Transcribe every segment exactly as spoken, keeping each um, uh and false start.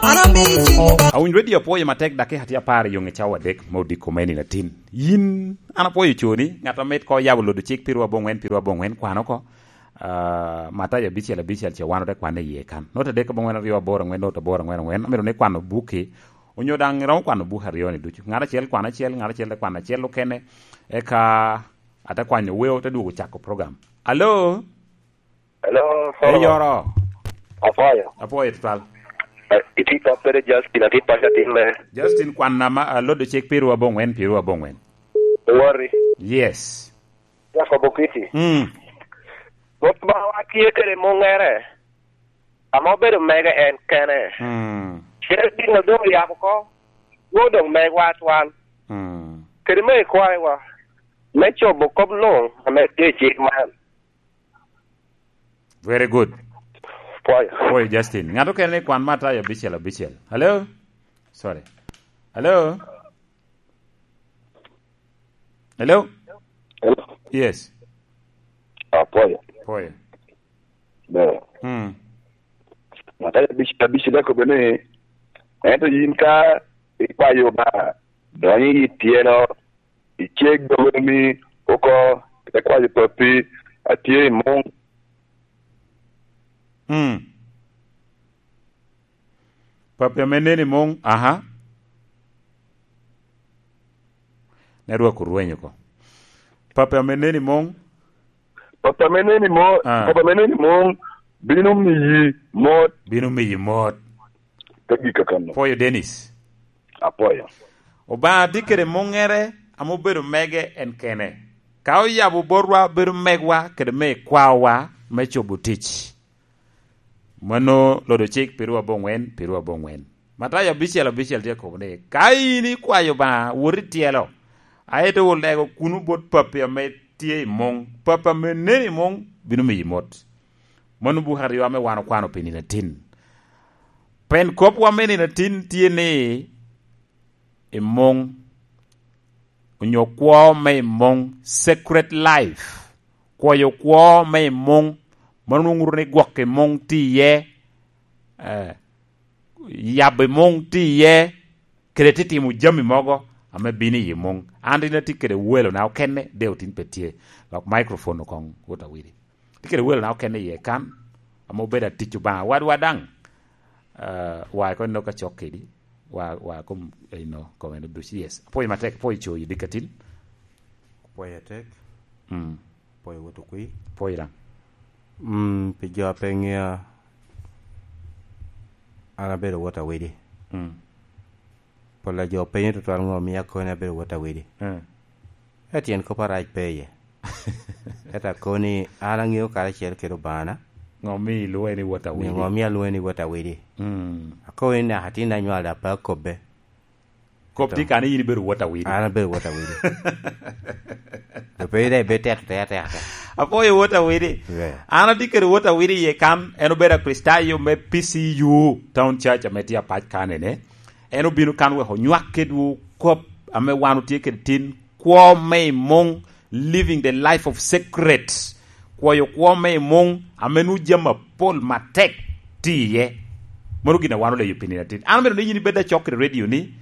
Awinyo redio apwoyo matek, dakika tye apar i yoŋe cawa adek ma odiko me nino atin. Yin, an apwoyo coni, ŋat amit ko yabo lodo cik pirwa aboŋwen, pirwa aboŋwen, kwano ko. Ah, Matayo abicel abicel ce wan ote kwane iye kan. Not adek aboŋwen aryo aboro aŋwen, not aboro aŋwen aŋwen. Amito ni kwano bukki, onyo daŋ iromo kwano buk aryo ni ducu. Ŋat acel kwano acel, ŋat acel te kwano acel okene. Eka ate kwanyo weo, te dwogo cako program. Alo? Hello, Solomon. Eyoro. Apwoyo. Apwoyo tutwal. Eh, itye kop kede Justin, atye paco atin me. Justin, kwan nama, ah, lodo cik pirwa aboŋwen, pirwa aboŋwen. Worry. Yes. Jacob Okiti. Mm. Rwot Obaŋawa tye kede muŋere, ame obedo mege en kene. Mm. Cite gin a doŋ oyabo oko, nwoŋo doŋ megwa atwal. Mm. Kede me ikwaewa, me cobo kop luŋ ame tye i cik man. Very good. Pwoyo. Pwoyo, Justin. Ŋat okene ni kwan Matayo abicel abicel. Hello? Sorry. Hello? Hello? Hello? Yes. Ah, pwoyo. Pwoyo. Ber. Mm. Matayo abicel abicel akobbe ni, ento yin ka ikwayo Obaŋa, donyo i tyelo, iceg dogomi oko, ite kwayo Pappi a tye i muŋ. Mm. Pappi ame nen i muŋ, aha. Network orwenyo oko. Pappi ame nen i muŋ. Pappi ame nen i mo-, Ah. Pappi ame nen i muŋ bino miyi mot. Bino miyi mot. Te gik kakano. Pwoyo Dennis. Apwoyo. Obaŋa tye kede muŋere ame obedo mege en kene. Ka oyabo botwa, bedo megwa kede me kwawa me cobo tic. Mano lodo cik pirwa aboŋwen, pirwa aboŋwen. Matayo abicel abicel tye kobo ni, ka in ikwayo Obaŋa, wot i tyelo, aye te olego kuno bot Pappi ame tye i muŋ. Pappi ame nen i muŋ bino miyi mot. Mano buk aryo ame wan okwano pi nino atin. Pen kopwa me nino atin tye ni, i muŋ, onyo kwo me i muŋ, secret life, kwoyo kwo me i muŋ, mano nwoŋo ŋuto ni gwok i muŋ tye iye, eh, yabo i muŋ tye iye, kede titimo jami mogo ame bino i muŋ. An rin atye kede welona okene, de otin pe tye, lok microphone okoŋ wot awili. Tye kede welona okene iye kan, ame obedo atic Obaŋa. Wadwa daŋ, ah, wa iko ino ka cok kedi, wa, wa kom, ino, kom eno duc, yes. Apwoyo matek, apwoyo coyi dikatin. Apwoyo atek. Mm. Apwoyo wot okwi. Apwoyo daŋ. Mm, pi jo a pe ŋea, an abedo wot awidi. Mm. Pol a jo penyo tutwal ŋo mio akoni abedo wot awidi. Mm. Ka tyen kop arac pe iye. Ento akoni, an aŋeo karacel kede Obaŋana. Ŋo mio ilwoŋe ni wot awidi? Ŋo mio alwoŋe ni wot awidi? Mm. Akoni naka tin anywalo daŋ pe akobbe. Kop tye kane in ibedo wot awidi. An abedo wot awidi. Pe ida ibe teto te ateka. Apwoyo wot awidi. Yeah. An atye kede wot awidi iye kan, en obedo Akricitayo me P C U Town Church ame tye apac kanene. En obino kan wek onywak kedwu kop ame wan otye kede tin, kwo me i muŋ, living the life of secret, kwoyo kwo me i muŋ, ame nwoŋo jami apol matek tye iye. Mano gin a wan oleyo pi nino atin. An omito ni yin ibed acok kede redio ni,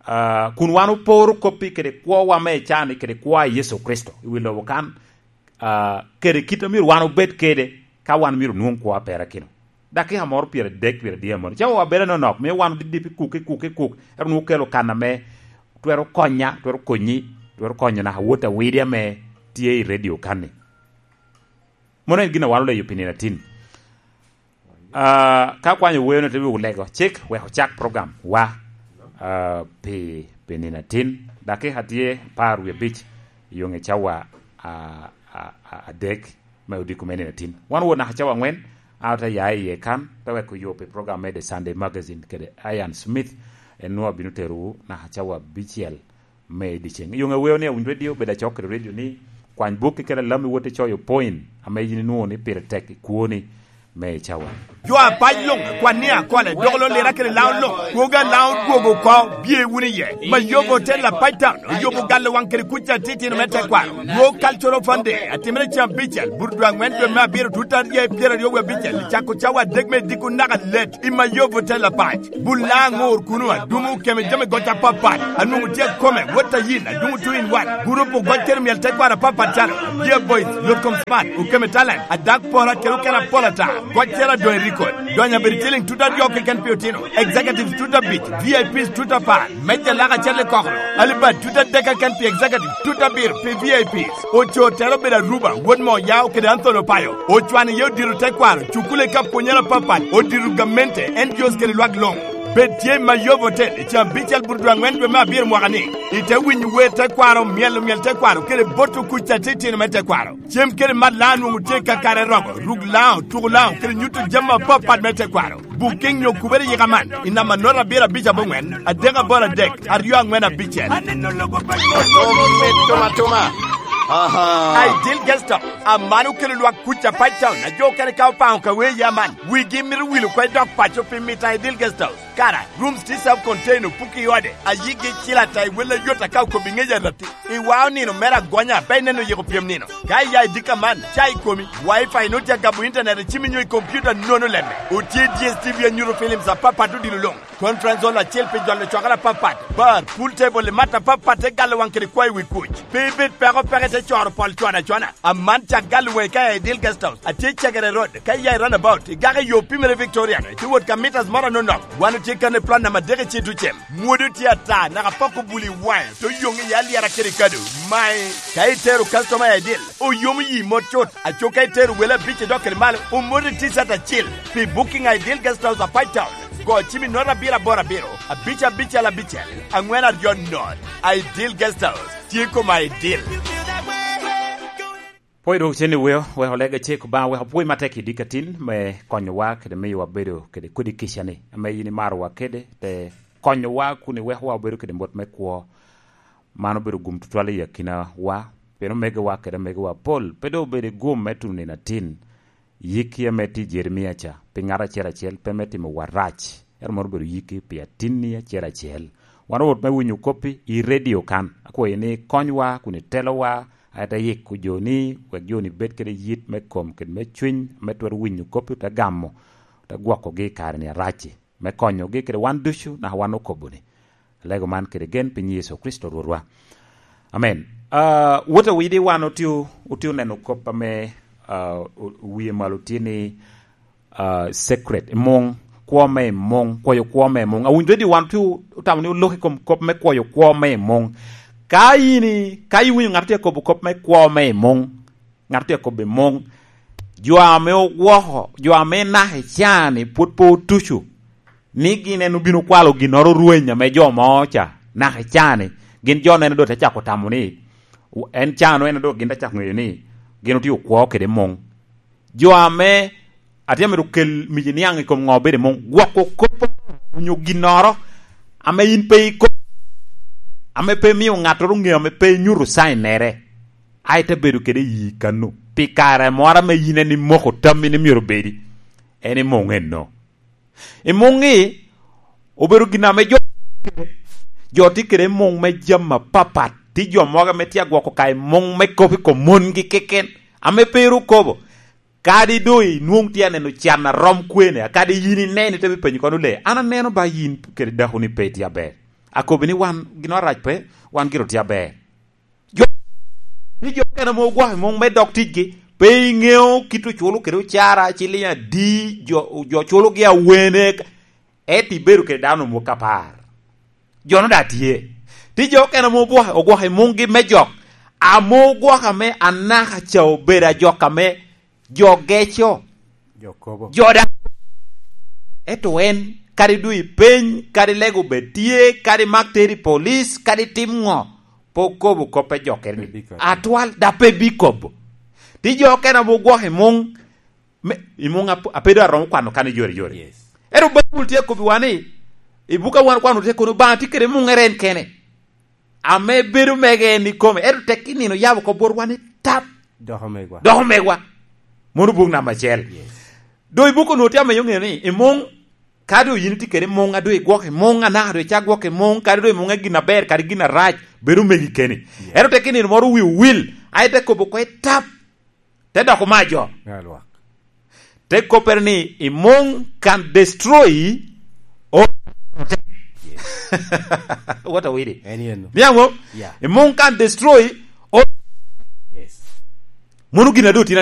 ah, kun wan oporo koppi kede kwowa me i can-ni kede kwo a Yecu Kricito i wi lobo kan, ah, kede kit a myero wan obed kede ka wan myero onwoŋ kwo a perakino. Dakika moro pyeradek, pyeradek amoro. Cawa wa bedo anonok, mio wan odidip i kuk, i kuk, i kuk. Ento nwoŋo okelo kan ame twero konya, twero konyi, twero konyo naka wot awidi ame tye i redio kan-ni. Mano en gin a wan oleyo pi nino atin. Ah, ka kwanyo weo-nu te dwogo lego cik, wek ocak program wa, ah, pi, pi nino atin. Dakika tye apar wie abic, i yoŋe cawa, ah, ah, ah, adek me odiko me nino atin. Wan owo naka cawa aŋwen, an ote ya iye kan, te weko yo pi program me The Sunday Magazine kede Ian Smith, en nwoŋo abino terowu naka cawa abicel me dyeceŋ. I yoŋe weo ni awinyo redio, bed acok kede redio ni, kwany bukki kede alam iwot icoyo point ame yin inwoŋo ni pire tek i kwoni. me i cawa. Jo apac luŋ, kwan ni akole, dok lo lira kede Laŋo luŋ, kwogo a Laŋo dwogo oko, bye wunu iye. Mayobo Hotel Apac Town oyubo galo waŋ kede kuc atitino me tekwaro. World Cultural Fund Day atimere cen abicel, Burudwa aŋwen dwe me abiro, tut aryo i pyeraryo wie abicel, i cako cawa adek me diko naka let i Mayobo Hotel Apac. Bul Laŋo aŋor kuno, adumo okeme jami goc apapat, anwoŋo tye akome, wot a yin, adumo two in one. Gurup ogoc kede myel tekwaro apapat calo, Dear Boys, Yot Kom Smart, Okeme Talent, Adak Pora kede okene apol ata. Goc cero adoŋ i record. Donyo abedo ciliŋ tut aryo keken pi otino. Executives tut abic, V I Ps tut apar. Meja lak acel i kokoro. Alibad tut adek keken pi executive, tut abiro pi V I Ps. Ocoo tero obedo Aruba, wot mo Yao kede Anthony Opayo. Ocwano iye odiro tekwaro, cukule ka pwonyere apapat, odiro gamente, N G Os kede lwak luŋ. Bed tye i Mayobo Hotel i caa abicel Burudwa aŋwen dwe me abiro mwaka ni. Ite winyo wer tekwaro, myelo myel tekwaro, kede boto kuc atitino me tekwaro. Cem kede mat Laŋo nwoŋo tye ka kare romo, ruk Laŋo, tuko Laŋo, kede nyuto jami apapat me tekwaro. Booking nyo kubere yika man, i namba note abiro abic aboŋwen, adek aboro adek, aryo aŋwen abicel. Aneno lobo pa Mito, mito, mito, mito. Aha. Ideal Guest House, aman okelo lwak kuc Apac Town, a jo okene ka opaŋo ka wee ya man. Wigi mito wilo kwe dok paco pi mito Ideal Guest House. Kara, rooms tye self-contained, opuki i ode, a yigi cil ata i wel ayot aka okobo i ŋec arati. I wa onino mere agonya, pe ineno yiko pyem nino. Ka iya i dika man, ca i komi, Wi-Fi nut ya gabo internet i cimi nyo i computer nono lemme. Otye D S T V anyuto films apapat odilo luŋ. Conference hall acel pi jolo cwakere apapat. Bar, pool table i mat apapat te galo waŋ kede kwayo wi kuc. Pe ibed peko peke te coro pol cwana cwana. Aman cak galo waŋi ka i Ideal Guest House. Atye i Cegere Road, ka iya i roundabout, igaka i yo pimere Victorian, itye wot ka meters moro anonok. Wan otye kan i plot namba adek i Citucem. Mwodo tye ata, naka poko buli i waŋe, to yoŋ i alyera kede kado. Mae, ka itero customer i Ideal, oyomo yi mot cut. Aco ka itero wele abic i dok kede malo, omoti T-shirt acil. Pi booking Ideal Guest House Apac Town, go cim i note abiro aboro abiro, abic abicel abicel, aŋwen aryo note. Ideal Guest House, tye koma Ideal. Pwony dwoko cen i weo, wek olega cek Obaŋa, wek opwony matek i dikatin me konyowa kede miyo wabedo kede kodi kica-ni, ame yin imarowa kede, te konyowa kun iwekowa obedo kede mot me kwo. Man obedo gum tutwal i akinawa, pien omegowa kede amegowa apol pe doŋ obedo i gum me tuno nino atin. Yikki ame tye i Jeremia ca, pi ŋat acel acel pe me timowa rac, ento mano obedo yikki pi atinni acel acel. Wan owot me winyo koppi i redio kan. Akwayi ni ikonywa kun itelowa, a ite yiko joni, wek joni bed kede yit me kom kede me cwiny, ame twero winyo koppi, ote gamo, ote gwokogi i kare-ni arac-ci, me konyogi kede wan ducu, naka wan okobo-ni. Alego man kede gen pi nyiŋ Yecu Kricito Rwotwa. Amen. Ah, wot awidi wan otye, otye oneno kop ame, ah, o-, wie malo tye ni, ah, secret, i muŋ, kwo me i muŋ, kwoyo kwo me i muŋ. Awinyo redio wan otye otamo ni olok i kom kop me kwoyo kwo me i muŋ. Ka in i-, ka iwinyo ŋat tye kobo kop me kwo me i muŋ, ŋat tye kobo i muŋ, jo ame ogwoko, jo ame naka i caa-ni pwod pe otuco, ni gin en obino kwalo ginnoro rweny ame jo mo ca, naka i caa-ni, gin jo neno doŋ te cako tamo ni, en caa-nu en doŋ gin te cako ŋeyo ni gin otye okwo kede muŋ. Jo ame atye amito kel mic niaŋ i kom ŋo obedo i muŋ, gwoko kop onyo ginnoro ame in pe ikobo, ame pe imio ŋattoro ŋeyo, ame pe inyuto sainnere, a ite bedo kede i yi kano pi kare moro ame yin en imoko tammi ni myero obedi, en i muŋ eno. I muŋ-ŋi obedo gin ame jo, jo tye kede i muŋ me jami apapat. Tye jo mogo ame tye agwoko ka i muŋ me kop i kom mongi keken, ame pe ru kobo. Kadi doŋ inwoŋ tye aneno can a rom kwene, a kadi yin ineno ite bipenyo kono le, an aneno ba yin kede dakoni pe itye aber. Akobi ni wan gin arac pe, wan gire otye aber. Jo, ni jo okene ame ogwoko i muŋ me dog ticgi, pe iŋeo kit oculo kede ocara, ciliŋ adi jo, jo culogi awene, ento ibedo kede dano omwog apar. Jo-nu daŋ tye. Tye jo okene ame ogwoko, ogwoko i muŋgi me jok, ame ogwoko ame anaka ca obedo ajok ame jo geco, jo kobo. Jo daŋ. Ento en, kadi doŋ ipeny, kadi lego bed tye, kadi mak teri i polic, kadi tim ŋo, pe okobo kop me jokkere-ni. Pe bikobo. Atwal, daŋ pe bikobo. Tye jo okene ame ogwoko i muŋ, me, i muŋ ap-, apedo aromo kwano kan i yore yore. Yes. Ento Baibul tye akobbiwa ni, i buk a wan okwano tye kono, Obaŋa tye kede muŋere en kene. Ame bedo mege en ikome, ento tek i nino yabo oko botwa ni tap. Doko megwa. Doko megwa. Mono buk namba acel. Yes. Doŋ i buko onwoŋo tye ameyo ŋeo ni i muŋ, kadi doŋ yin itye kede muŋ, a doŋ igwok i muŋ, anaka doŋ icak gwok i muŋ, kadi doŋ i muŋ en gin aber, kadi gin arac, bedo megi keni. Ento tek i nino moro wi owil, a ite kobo oko i tap, te doko majo. Te koppere ni, "I muŋ can destroy all." What a widi? Niaŋo? I muŋ can destroy all. Mono gin a doŋ tin